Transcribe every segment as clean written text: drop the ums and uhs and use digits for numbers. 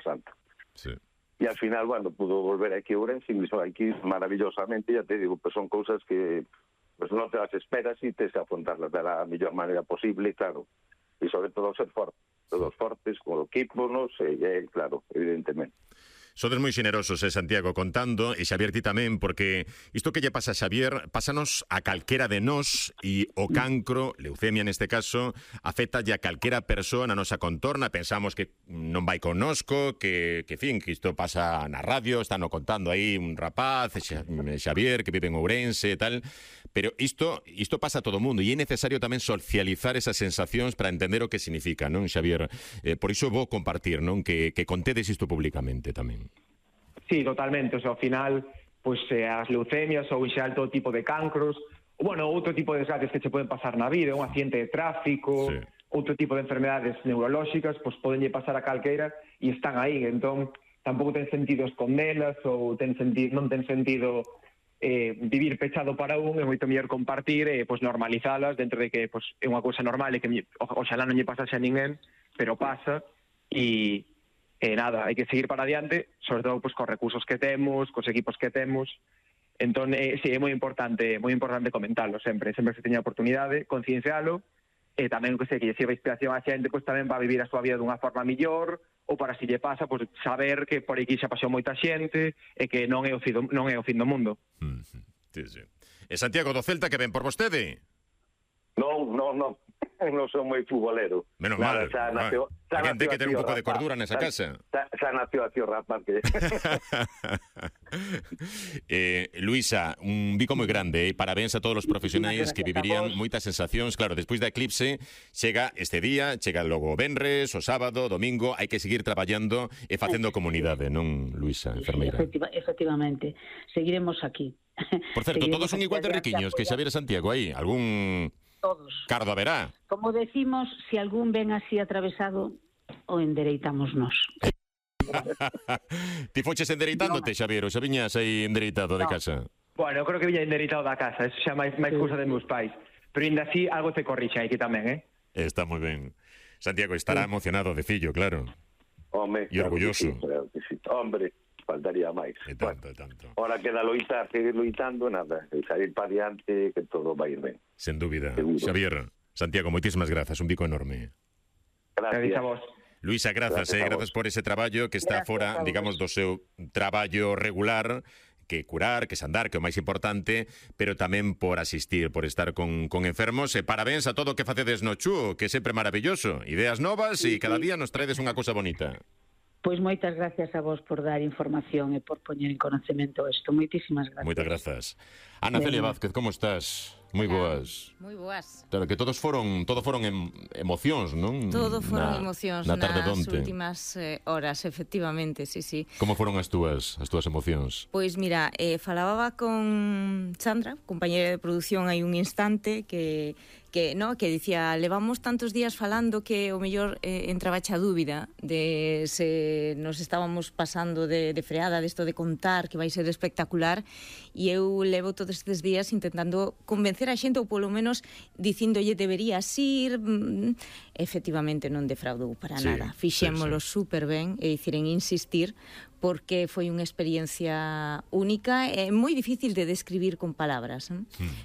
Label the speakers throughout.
Speaker 1: Santa.
Speaker 2: Sí.
Speaker 1: E al final, bueno, pudo volver aquí a Ourense e me hizo aquí maravillosamente, ya te digo, pues son cousas que pues non te las esperas e tes que afrontarlas de la mellor maneira posible, claro, e sobre todo ser fortes, todos fortes, con o equipo, non sei, claro, evidentemente.
Speaker 2: Sodes moi xenerosos, Santiago, contando, e Xavier ti tamén, porque isto que lle pasa a Xavier, pásanos a calquera de nós, e o cancro, leucemia neste caso, afecta a calquera persoa na nosa contorna. Pensamos que non vai connosco, que isto pasa na radio, están contando aí un rapaz, Xavier, que vive en Ourense e tal, pero isto pasa a todo o mundo, e é necesario tamén socializar esas sensacións para entender o que significa, non, Xavier? Por iso vou compartir, non, que contedes isto públicamente tamén.
Speaker 3: Sí, totalmente, ao final, pois as leucemias ou xeral todo tipo de cancros, bueno, outro tipo de desgracias que se poden pasar na vida, un accidente de tráfico, sí, outro tipo de enfermedades neurolóxicas, pois podenlle pasar a calqueira e están aí, entón tampouco ten sentido escondelas ou non ten sentido vivir pechado para é moito mellor compartir e pois normalizalas dentro de que pois é unha cousa normal e que oxalá non lle pasase a ninguén, pero pasa e nada, hai que seguir para adiante, sobre todo pues, cos recursos que temos, cos equipos que temos. Entón, sí, é moi importante comentarlo sempre que se teña a oportunidade, conciencialo, e tamén que lle sirva inspiración á xente, pues, tamén va a vivir a súa vida dunha forma mellor, ou para si lle pasa, pues, saber que por aquí xa pasou moita xente e que non é o fin do mundo.
Speaker 2: Sí, sí. E Santiago do Celta, que ven por vostede?
Speaker 1: Non son moi futbolero.
Speaker 2: Menos mal. A quen ten que ter un pouco de cordura nesa casa.
Speaker 1: Xa nació a tío rapaz que...
Speaker 2: Luisa, un bico moi grande, parabéns a todos os profesionais que vivirían moitas sensacións. Claro, despois da eclipse chega este día, chega logo o venres, o sábado, domingo, hai que seguir traballando e facendo comunidade, non, Luisa, enfermeira?
Speaker 4: Efectivamente, seguiremos aquí.
Speaker 2: Por certo, todos son igual de riquiños que Xavier e Santiago aí, algún...
Speaker 4: Todos.
Speaker 2: Cardo haberá.
Speaker 4: Como decimos, si algún ven así atravesado, o endereitamos nós.
Speaker 2: Ti foches endereitándote, Xavier, ou xa viñas aí endereitado de casa?
Speaker 3: Bueno, eu creo que viña endereitado da casa, eso xa máis cousa de meus pais. Pero ainda así, algo te corrixa aquí tamén,
Speaker 2: Está moi ben. Santiago estará emocionado de fillo, claro.
Speaker 1: Home,
Speaker 2: e orgulloso.
Speaker 1: Claro que sí. Hombre, faltaría máis.
Speaker 2: E tanto, tanto.
Speaker 1: Ahora queda loitar, seguir loitando, nada, e sair para diante, que todo vai ir ben.
Speaker 2: Sen dúbida.
Speaker 1: Seguro.
Speaker 2: Xavier, Santiago, moitísimas grazas, un bico enorme.
Speaker 1: Gracias
Speaker 3: a vos.
Speaker 2: Luisa, grazas por ese traballo que está fora, digamos, do seu traballo regular, que curar, que sandar, que é o máis importante, pero tamén por asistir, por estar con enfermos, e parabéns a todo o que facedes no Chu, que é sempre maravilloso, ideas novas e cada día nos traedes unha cousa bonita.
Speaker 4: Pois moitas gracias a vos por dar información e por poñer en conocemento isto. Moitísimas gracias.
Speaker 2: Moitas grazas. Ana Celia Vázquez, como estás? Moi boas.
Speaker 5: Moi boas.
Speaker 2: Claro, que todo foron emocións, non?
Speaker 5: Todo foron emocións
Speaker 2: na tarde
Speaker 5: nas
Speaker 2: donte.
Speaker 5: Últimas horas, efectivamente, sí.
Speaker 2: Como foron as túas emocións?
Speaker 5: Pois mira, falaba con Sandra, compañera de produción, hai un instante que dicía, levamos tantos días falando que o mellor entraba a dúbida de se nos estábamos pasando de freada desto de contar que vai ser espectacular, e eu levo todos estes días intentando convencer a xente, ou polo menos dicíndolle deberías ir. Efectivamente non defraudou para nada, fixémolo super ben, e dicir, en insistir, porque foi unha experiencia única e moi difícil de describir con palabras,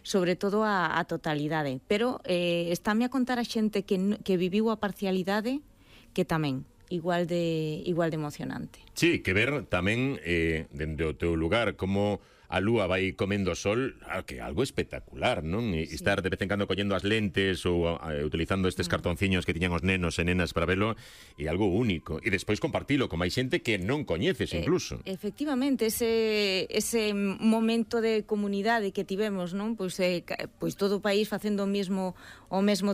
Speaker 5: sobre todo a totalidade, pero estáme a contar a xente que viviu a parcialidade, que tamén igual de emocionante.
Speaker 2: Sí, que ver tamén dende o teu lugar como a lúa vai comendo sol, que é algo espectacular, non? E estar de vez en cando collendo as lentes ou utilizando estes cartonciños que tiñan os nenos e nenas para velo, é algo único. E despois compartilo con máis xente que non coñeces incluso.
Speaker 5: Efectivamente, ese momento de comunidade que tivemos, non? Pois todo o país facendo o mesmo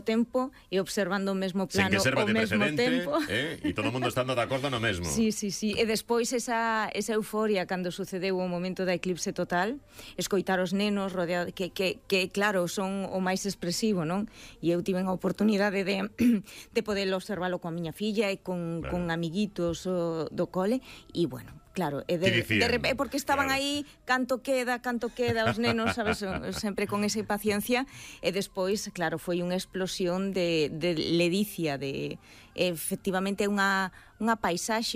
Speaker 5: tempo e observando o mesmo plano ao mesmo tempo.
Speaker 2: E todo o mundo estando de acordo no mesmo.
Speaker 5: Sí. E despois esa euforia cando sucedeu o momento da eclipse total, escoitar os nenos rodeados, que claro, son o máis expresivo, non? E eu tive a oportunidade de poder observalo coa miña filla e con amiguitos do cole, e bueno, claro, porque estaban aí canto queda os nenos, sabes, sempre con esa impaciencia, e despois, claro, foi unha explosión de ledicia, efectivamente unha paisaxe